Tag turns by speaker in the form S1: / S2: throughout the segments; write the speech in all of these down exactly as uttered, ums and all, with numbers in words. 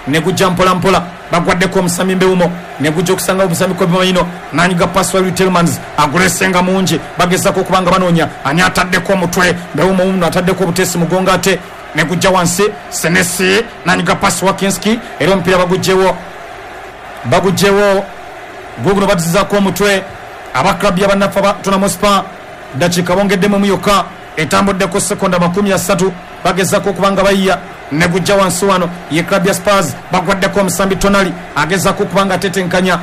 S1: Negujja mpola mpola, bagwaddeko omusambi Mbeumo, negujja okusanga omusambi Kobbie Mainoo, nanyiga pasi wa Tielemans, agulesenga mungi, bagezaako okubanga banoonya ani ataddeko omutwe. Mbeumo uno ataddeko obutesi mugongo, ate negujja wansi Senesi nanyiga pasi wa Kinski, era omupiira bagugjewo bagugjewo guguno batuzizaako omutwe aba club ya bannaffe aba Tottenham Hotspur. Dakiika bongeddemu yokka, etambuddeko sekonda makumi asatu, bagezaako okubanga bayiya. Negujja wansi wano ye club ya Spurs, bagwaddeko omusambi Tonali, agezaako okubanga atetenkanya,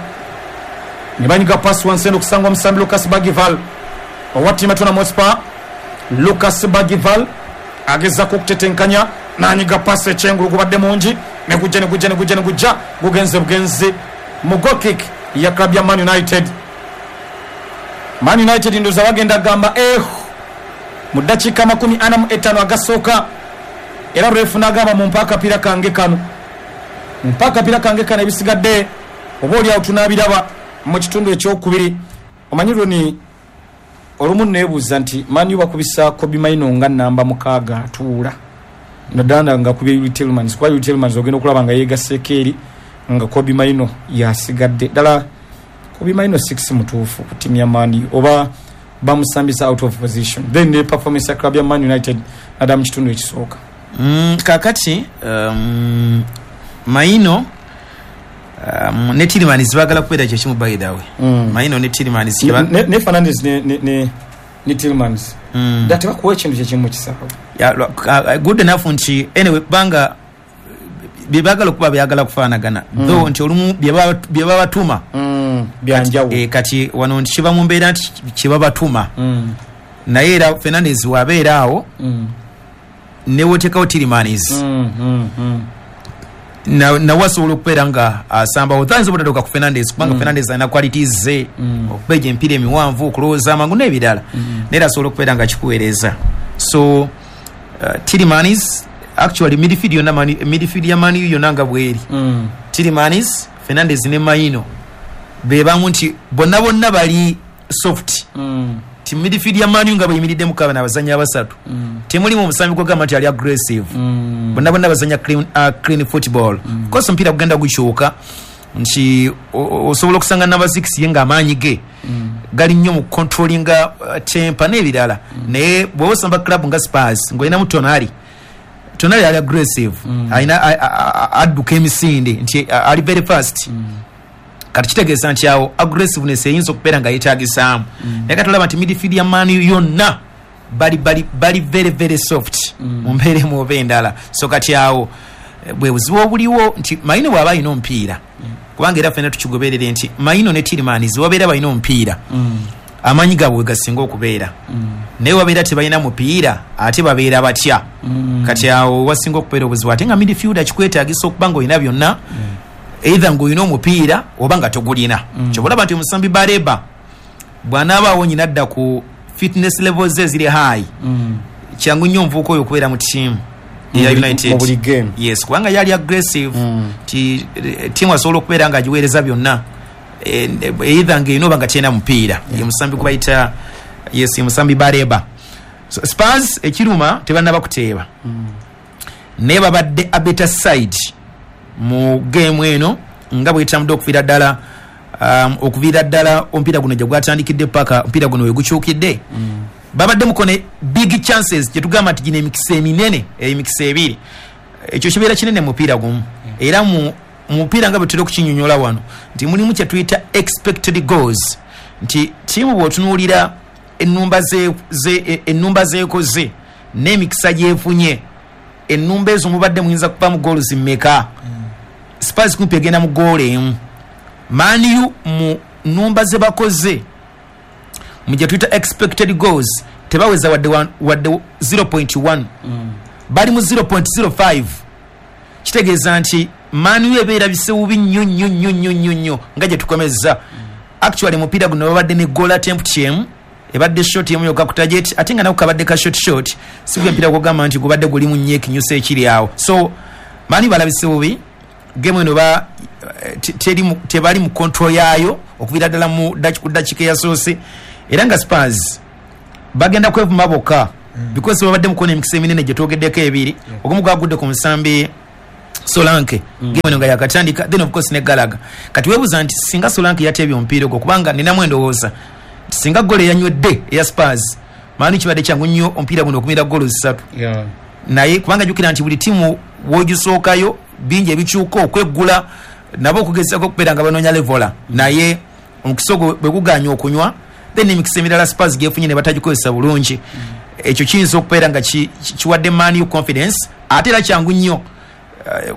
S1: ne banyiga pasi wansi eno okusanga omusambi Lucas Bergvall owa ttiimu ya Tottenham Hotspur. Lucas Bergvall agezaako okutetenkanya, nanyiga pasi ekyengulu, gubadde mungi, negujja negujja negujja negujja gugenze bugenzi mu goal kick ya club ya Man United. Man United ndoza bagenda gamba eh mu dakiika makumi ana mu etaano agasooka, era refu n'agamba mumpe akapiira kange kano, mumpe akapiira kange kano, ebisigadde oba oli awo tunaabiraba mu kitundu ekyokubiri. Omanyi Roni, olumu neebuuza nti Man U bakubisa Kobbie Mainoo nga namba mukaaga atuula, naddala nga akubye Youri Tielemans, kuba Youri Tielemans ogenda okulaba nga yeegasseeko eri nga Kobbie Mainoo yasigadde. Ddala Kobbie Mainoo six mutuufu ku ttiimu ya Man U, oba bamusambisa out of position? Then ne performance ya club ya Man United naddala mu kitundu ekisooka.
S2: Mm, kakati um, Mainoo um, ne Tielemans baagala kubeera kyekimu, by the way.
S1: Mm.
S2: Mainoo ne Tielemans
S1: Ne, ne, ne Fernandes ne, ne, ne, ne Tielemans
S2: mm.
S1: dda tebakuwa ekintu kyekimu mu kisaawe.
S2: Ya, uh, good enough nti anyway kubanga bye baagala okuba byagala kufaanagana,
S1: Mm.
S2: though nti olumu bye baba- bye babatuma
S1: mm. byanjawulo.
S2: eh, kati wano nti kiba mu mbeera nti kyebabatuma,
S1: mm.
S2: naye era Fernandes wabeera awo
S1: mm.
S2: newoteekawo Tielemans,
S1: mm, mm, mm.
S2: na nawe asobola okubeera nga asambawo. Tayinza obutatuuka ku Fernandes kubanga
S1: Mm.
S2: Fernandes alina qualities ze,
S1: Mm.
S2: okubeja emipiira emiwanvu, okulowooza amangu n'ebirala,
S1: Mm.
S2: naye era asobola okubeera nga kikuweereza. So uh, Tielemans, actually midfield yonna Man- midfield ya Man U yonna nga bweri,
S1: Mm.
S2: Tielemans, Fernandes ne Mainoo be bamu nti bonna bonna bali soft,
S1: Mm.
S2: ti midfield ya Man U nga bweyimiriddemu kabana abazanyi abasatu,
S1: Mm.
S2: temulimu omusambi gwogamba nti ali aggressive.
S1: Mm.
S2: Bonna bonna bazanya clean, uh, clean football.
S1: Mm.
S2: Of course omupiira gugenda gukyuka nti o- o- osobola okusanga namba six ye ng'amaanyi ge
S1: Mm.
S2: gali nnyo mu controllinga uh, temper n'ebirala, naye bw'oba osamba club nga Spurs ng'olinamu Tonali, Tonali ali aggressive,
S1: Mm.
S2: alina a- a- a- adduka emisinde nti a- ali very fast.
S1: Mm.
S2: Kati kitegeeza nti awo aggressiveness eyinza okubeera nga yeetagisaamu,
S1: Mm.
S2: naye kati olaba nti midfield ya Man U yonna bali, bali, bali very very soft
S1: Mm.
S2: mu mbeera emu oba endala. So kati awo eh, bwe buzibu obuliwo nti Mainoo bw'aba alina omupiira, kubanga era ffenna tukigoberere nti Mainoo ne Tielemans wabeera balina omupiira,
S1: Mm.
S2: amaanyi gaabwe we gasinga okubeera,
S1: Mm.
S2: naye wabeera tebalina mupiira ate babeera batya?
S1: Mm.
S2: Kati awo wasinga okubeera obuzibu, ate nga midfielder kikwetaagisa okuba nga olina byonna, either ng'olina omupiira oba nga togulina.
S1: Mm.
S2: Kyova olaba nti omusambi Baleba bw'anaaba awonye nadda ku fitness levels ze eziri high,
S1: Mm.
S2: kyangu nnyo omuvubuka oyo okubeera mu ttiimu eya
S1: Mu buli-
S2: United.
S1: mu buli game.
S2: Yes, kubanga yali aggressive,
S1: Mm.
S2: ti eh, ttiimu asobola okubeera nga agiweereza byonna, Eh, either ng'erina oba nga terina mupiira. Ye musambi gwe bayita, yes, ye musambi Baleba. So Spurs ekiruma tebannaba kuteeba,
S1: Mm.
S2: naye babadde a better side mu game eno nga bwetambudde okuviira ddala um, okuviira ddala omupiira guno gye gwatandikidde paka omupiira guno we gukyukidde.
S1: Mm.
S2: Babadde mukone big chances, gyetugamba nti gino emikisa eminene, emikisa ebiri, ekyo kibeera kinene mu mupiira gumu. Era mu mu mupiira nga bwe tutera okukinyonyola wano nti mulimu kye tuyita expected goals, nti ttiimu bw'otunuulira ennumba ze- ze- e- ennumba zeekoze n'emikisa gyefunye, ennumba ezo mubadde muyinza kuva mu goals mmeka? Spurs kumpi egenda mu goolo emu. Man U mu nnumba ze bakoze mu gye tuyita expected goals tebaweza wadde one- wadde zero point one,
S1: Mm.
S2: bali mu zero point zero five. Kitegeeza nti Man U ebeera bisebubi nnyo nnyo nnyo nnyo nnyo nnyo nga gye tukomezza. Actually mupiira guno babadde ne goal attempt emu, ebadde shot emu yokka ku target, ate nga nako kabadde ka shot shot, si gwe mpira gwogamba nti gubadde gulimu nnyo ekinyusa ekiri awo. So Man U balabise bubi game eno, ba eh, te- teri mu- tebali mu control yaayo okuviira ddala mu daki- ku dakiika eyasoose, era nga Spurs bagenda kwevuma bokka because babadde mukona emikisa eminene gye twogeddeko ebiri. Ogumu gwagudde ku musambi Solanke mm. Game eno nga yakatandika, then of course ne Gallagher. Kati weebuuza nti singa Solanke yateebye omupiira ogwo, kubanga ninamu endowooza singa golo eyanywedde eya Spurs, Man U kibadde kyangu nnyo omupiira guno okumira golo zisatu.
S1: Yeah.
S2: Naye kubanga jjukira nti buli tiimu w'ogisookayo bingi ebikyuka okweggula nabo okugezaako okubeera nga banoonya levola, naye omukisa ogwo bwe guganya okunywa, then emikisa emirala Spurs gyefunye ne batagikozesa bulungi. Ekyo kiyinza okubeera nga kiwadde Man U confidence. Ate era kyangu nnyo uh,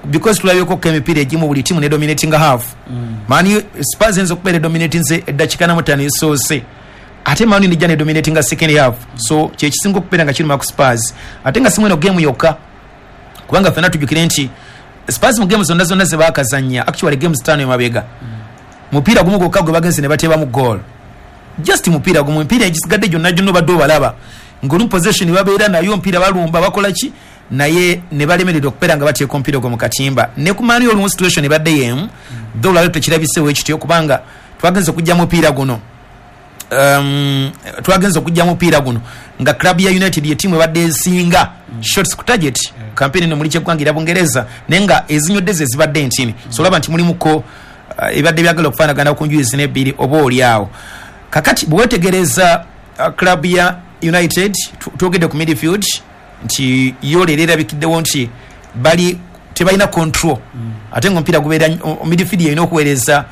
S2: because tulabyeko emipiira egimu buli tiimu ne dominating half. mm. Man U, Spurs eyinza okubeera edominatinze eddakiika na mutaano esoose, ate Man U nejja ne dominatinga second half. So kyekisinga okubeera nga kiruma ku Spurs, ate nga si mweno game yokka, kubanga ffenna tujjukire nti Spurs mu game zonna zonna ze baakazannya, actually games ttaano emabega, mupiira gumu gwokka gwe bagenze ne bateebamu goal, just mupiira gumu. Emipiira egisigadde gyonna gyonna obadde obalaba ng'olumu possession babeera nayo, omupiira balumba bakola ki, naye ne balemererwa okubeera nga bateeka omupiira ogwo mu katimba. Ne ku Man U olumu situation ebadde y'emu, though olwaleero tekirabiseewo ekityo, kubanga twagenze okujja mupiira guno um, twagenze okujja mupiira guno nga club ya United ye tiimu ebadde esinga mm. shots ku target yeah. Campaign eno muli kyeggwanga era Bungereza, naye nga ezinywedde ze zibadde ntini. mm. So olaba nti mulimuko uh, ebadde byagala okufaanagana ku njuyi zino ebbiri oba oli awo. Kakati bwe weetegereza uh, club ya United, twogedde ku midfield nti yo leero erabikiddewo nti bali tebalina control. mm. Ate nga omupiira gubeera midfield yalina okuweereza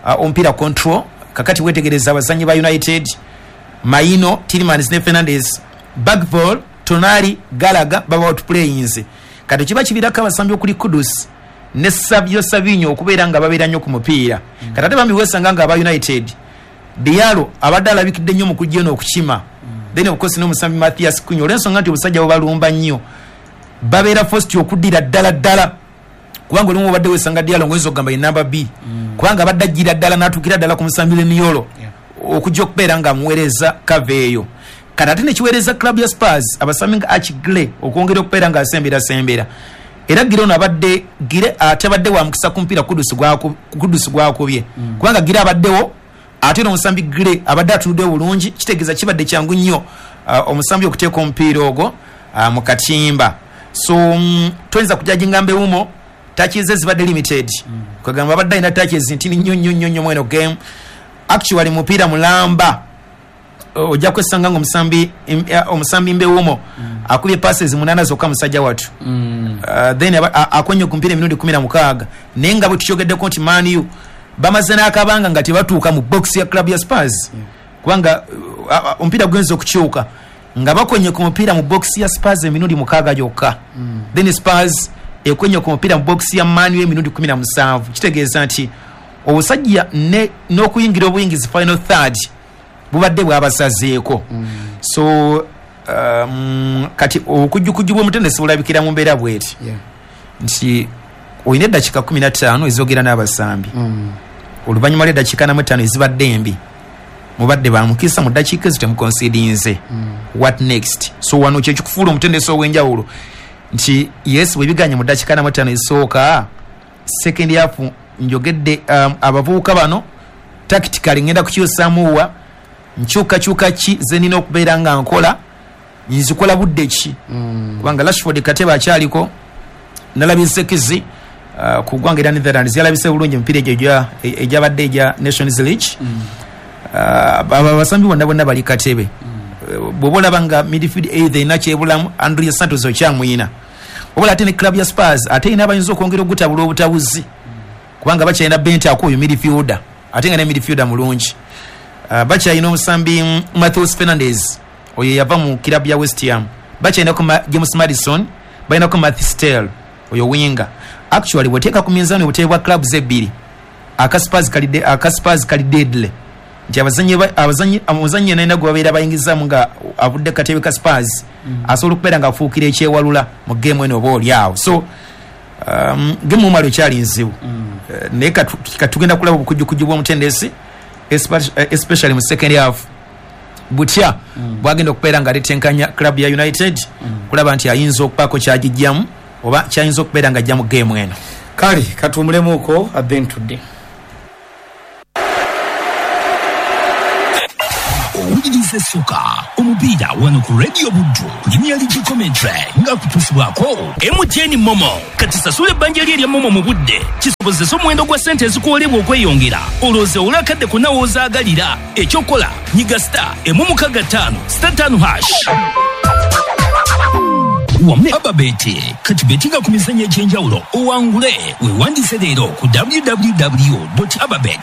S2: uh, omupiira control. Kakati weetegereza abazannyi ba United, Mainoo, Tielemans ne Fernandes, Bergvall, Tonali, Gallagher baba outplayinze. Kati kiba kivirako abasambi okuli Kudus ne Savio Savinho okubeera nga babeera nnyo ku mupiira. mm. Kati ate bambi weesanga nga aba United, Diallo abadde alabikidde nnyo mu kujja eno okukima. mm. Then of course n'omusambi Mathias Cunha, olw'ensonga nti obusajja bubalumba nnyo, babeera forced okuddira ddala ddala, kubanga olumu obadde weesanga Diallo ng'oyinza okugamba ye namba B. mm. Kubanga abadde ajjira ddala n'atuukira ddala ku musambi Leniolo
S1: yeah.
S2: okujja okubeera nga amuweereza kava eyo. Kati ate nekiweereza club ya Spurs abasambi nga Archie Gray okwongera okubeera nga asemberasembera. Era Gray ono abadde Gray atabadde wa mukisa ku mupiira Kudus gwakubye.
S1: mm.
S2: Kubanga Gray abaddewo, ate n'omusambi Gray abadde atunuddewo bulungi, kitegeeza kibadde kyangu nnyo uh, omusambi okuteeka omupiira ogwo uh, mu katimba. So um, toyinza kujajinga Mbeumo, touches zibadde limited.
S1: mm.
S2: Kwegamba abadde alina touches ntini nnyo nnyo nnyo nnyo mweno game. Actually mupiira mulamba ojja kwesanga ng'omusambi omusambi Mbeumo
S1: mm.
S2: akubye passes munaana zokka musajja watu.
S1: mm.
S2: Uh, then akonye ku mupiira emirundi kumi na mukaaga, naye nga bwe tukyogeddeko nti Man U bamaze n'akabanga nga tebatuuka mu box ya club ya Spurs.
S1: yeah.
S2: Kubanga uh, omupiira guyinza okukyuka nga bakonye ku mupiira mu box ya Spurs emirundi mukaaga gyokka.
S1: mm.
S2: Then Spurs ekonye ku mupiira mu box ya Man U emirundi kumi na musanvu. Kitegeeza nti obusajja n'okuyingira obuyingizi final third bubadde bwabasazeeko.
S1: mm.
S2: So um, kati okujjukujju bw'omutendesi bulabikira mu mbeera bw'eti.
S1: yeah.
S2: Nti olina eddakiika kumi na ttaano ezogera n'abasambi.
S1: mm.
S2: Oluvannyuma lw'eddakiika na ttaano ezibadde embi, mubadde bamukisa mu ddakiika ezo temukonsidinze.
S1: mm.
S2: What next? So wano kye kikufuula omutendesi ow'enjawulo nti yes, bwe biganye mu ddakiika na ttaano ezisooka, second half njogedde um, abavubuka bano tactically ngenda kukyusaamu wa nkyukakyuka ki ze nina okubeera nga nkola, nzikola budde ki?
S1: mm.
S2: Kubanga Rashford Kateba akyaliko, nalabye Nsekizi uh, ku ggwanga erya Netherlands yalabise bulungi emipiira egyo egyabadde egya Nations League.
S1: mm.
S2: uh, abasambi bonna bonna bali Katebe.
S1: mm.
S2: uh, bw'oba olaba nga midfield either erina kyebulamu, Andrea Santos okyamuyina, oba ate ne club ya Spurs ate erina abayinza okwongera ogutabula obutabuzi, kubanga bakyalina Bentancur oyo midfielder, ate nga ne midfielder mulungi. Uh, bakyalina omusambi Matheus Fernandes oyo yava mu club ya West Ham, bakyalinako James Maddison, balinako Mathys Tel oyo winger. Actually bw'oteeka ku minzaani obuteebe bwa clubs ebbiri, aka Spurs kali aka Spurs kali deadly, nti abazannyi abazannyi omuzannyi yenna gwe babeera bayingizaamu nga avudde katebe ka Spurs
S1: mm.
S2: asobola okubeera nga afuukira ekyewalula mu game eno oba oli awo. So um, game omumalo ekyali nzibu.
S1: mm.
S2: Uh, naye katugenda kulaba obukujjukujju bw'omutendesi especially mu second half butya
S1: mm.
S2: bwagenda okubeera nga aletenkanya club ya United
S1: mm.
S2: kulaba nti ayinza okubaako kyagijjamu oba kyayinza okubeera nga ajja mu game eno.
S1: Kale katuwumulemuko then tudde.
S3: Wuliriza essuka omupiira wano ku Radio Buddu Premier League commentary nga kutuusibwako M T N MoMo. Kati sasula ebbanja lye erya MoMo mu budde, kisobozesa omuwendo gwa ssente ezikuwolebwa okweyongera, olowooza olwakadde konna w'ozaagalira. Ekyokola, nyiga star emu mukaga ttaano star ttaano hash. Wamu ne Ababet, kati betinga ku mizannyo egy'enjawulo owangule. Weewandiise leero ku W W W ababet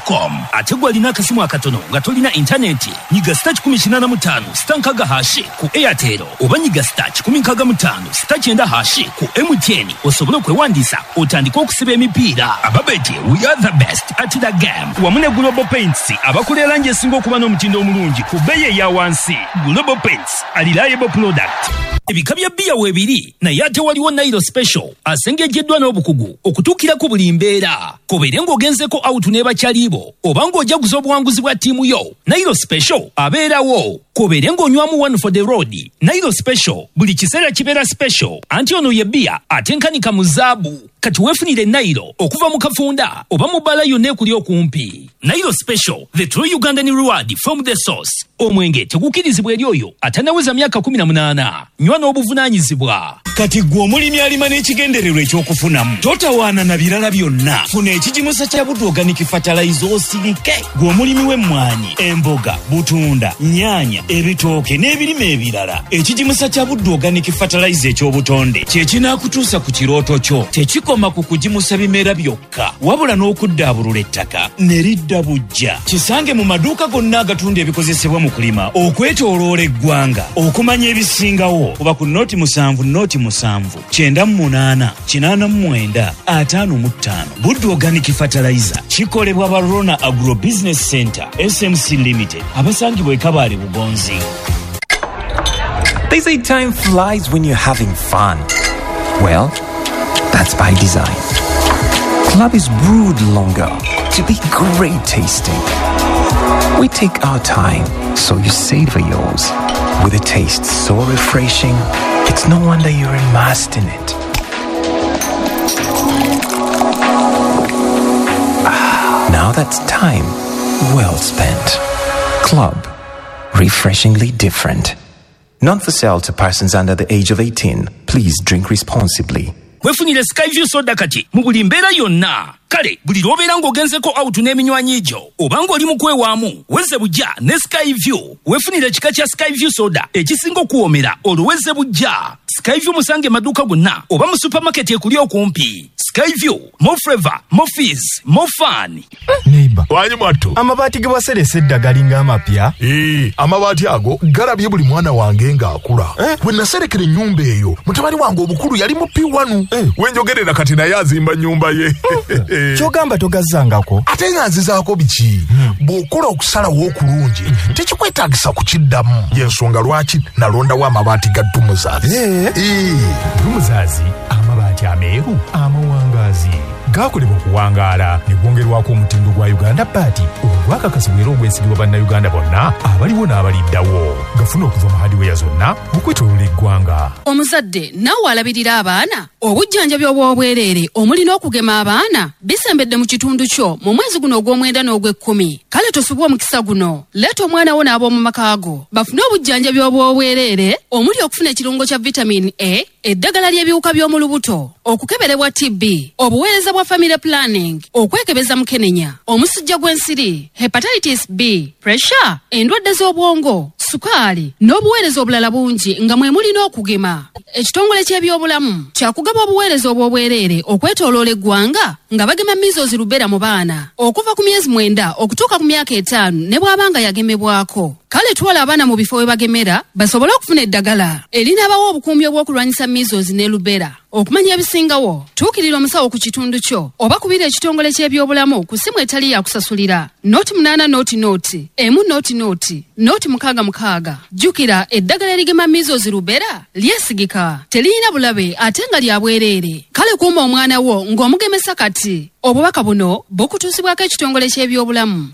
S3: com. Ate gwe alina akasimu akatono nga tolina intaneti, nyiga star kikumi kinaana mu ttaano star nkaaga hash ku Airtel, oba nyiga star kikumi nkaaga mu ttaano star kyenda hash ku M T N osobole okwewandiisa otandike okusiba emipiira. Ababet, we are the best at the game. Wamu ne Global Paints, abakola erangi esinga okuba n'omutindo omulungi ku bbeeyi eya wansi. Global Paints, a reliable product. Ebika bya bbiya weebiri, naye ate waliwo Nairo Special asengejjeddwa n'obukugu okutuukira ku buli mbeera. Kobeere ng'ogenzeko out ne bakyalibo oba ng'ojaguza obuwanguzi bwa ttiimu yo, Nairo Special abeerawo. Kobeere ng'onywamu one for the road, Nairo Special buli kiseera kibeera special. Anti ono ye bbiya atenkanika mu zaabu. Kati weefunire Nairo okuva mu kafunda oba mu bbaala yonna ekuli okumpi. Nairo Special, the true Ugandan reward from the source. Omwenge tegukkirizibwa eri oyo atannaweza myaka kkumi na munaana. Nywa n'obuvunaanyizibwa.
S4: Kati gwe omulimi alima n'ekigendererwa ekyokufunamu, totawaana na birala byonna, funa ekigimusa kya Buddu Organic Fertilizer osirike. Gwe omulimi w'emmwanyi, emboga, butunda, nnyaanya, ebitooke n'ebirime ebirala, ekigimusa kya Buddu Organic Fertilizer eky'obutonde kye kinaakutuusa ku kirooto kyo. Tekikoma ku kugimusa bimera byokka, wabula n'okuddaabulula ettaka ne lidda bujja. Kisange mu maduuka gonna agatunda ebikozesebwa mu kulima okwetooloola eggwanga. Okumanya ebisingawo, kuba ku noti musanvu noti musanvu kyenda mu munaana kinaana mu mwenda ataano mu ttaano. Buddu Organic Fertilizer kikolebwa ba Rona Agro Business Center S M C Limited, abasangibwa e Kabaale, Bugonzi.
S5: They say time flies when you're having fun. Well, that's by design. Club is brewed longer to be great tasting. We take our time so you savor yours. With a taste so refreshing, it's no wonder you're immersed in it. Ah, now that's time well spent. Club, refreshingly different. Not for sale to persons under the age of eighteen. Please drink responsibly.
S3: Weefunire Skyview soda kati mu buli mbeera yonna. Kale buli lw'obeera ng'ogenzeko out n'eminywanyi gyo oba ng'oli mu kwewaamu, weze bujja ne Skyview. Weefunire ekika kya Skyview soda ekisinga okuwoomera, olwo weze bujja. Skyview musange maduuka gonna oba mu supermarket ekuli okumpi. Skyview, more flavor, more fizz, more fun.
S6: Neighbor.
S7: Wanyi mwattu.
S6: Amabaati ge waseresa edda galinga amapya.
S7: Ee, amabaati ago galabye buli mwana wange ng'akula.
S6: Eh?
S7: Bwe naserekera ennyumba eyo, mutabani wange omukulu yali mu P one.
S6: Eh.
S7: Wenjogerera kati naye azimba nnyumba ye.
S6: Kyogamba togazzangako?
S7: Ate nga nzizaako biki? Bw'okola okusalawo okulungi, tekikwetaagisa kukiddamu. Y'ensonga lwaki nalondawo amabaati ga Dumuzaazi.
S6: Eh.
S7: Ee.
S8: Dumuzaazi, amabaati ameeru amawangaazi gakolebwa okuwangaala ne gwongerwako omutindo gwa Uganda Baati ogwakakasibwa era ogwesigibwa Bannayuganda bonna abaliwo n'abaliddawo. Gafuna okuva mu hardware zonna okwetooloola eggwanga.
S9: Omuzadde naawe alabirira abaana, obujjanjabi obw'obwereere omuli n'okugema abaana bisembedde mu kitundu kyo mu mwezi guno ogw'omwenda n'ogw'ekkumi. Kale tosubwa omukisa guno. Leeta omwana wo n'ab'omu maka go bafune obujjanjabi obw'obwereere omuli okufuna ekirungo kya vitamin A, eddagala ly'ebiwuka by'omu lubuto, okukeberebwa T B, obuweereza bwa family planning, okwekebeza mukenenya, omusujja gw'ensiri, hepatitis B, pressure, endwadde z'obwongo, sukaali n'obuweereza obulala bungi nga mwe muli n'okugema. Ekitongole ky'ebyobulamu kyakugaba obuweereza obw'obwereere okwetooloola eggwanga nga bagema measles, rubella mu baana okuva ku myezi mwenda okutuuka ku myaka etaano ne bw'aba nga yagemebwako. Kale twala abaana mu bifo we bagemera basobole okufuna eddagala erinaabawa obukuumi obw'okulwanyisa measles ne rubella. Okumanya ebisingawo, tuukirira omusawo ku kitundu kyo oba kubira ekitongole ky'ebyobulamu ku ssimu etali yakusasulira noti munaana noti noti emu noti noti noti mukaaga mukaaga. Jjukira, eddagala erigema measles, rubella lyesigika, teriyina bulabe ate nga lya bwereere. Kale kuuma omwana wo ng'omugemesa kati. Obubaka buno bukutuusibwako ekitongole ky'ebyobulamu.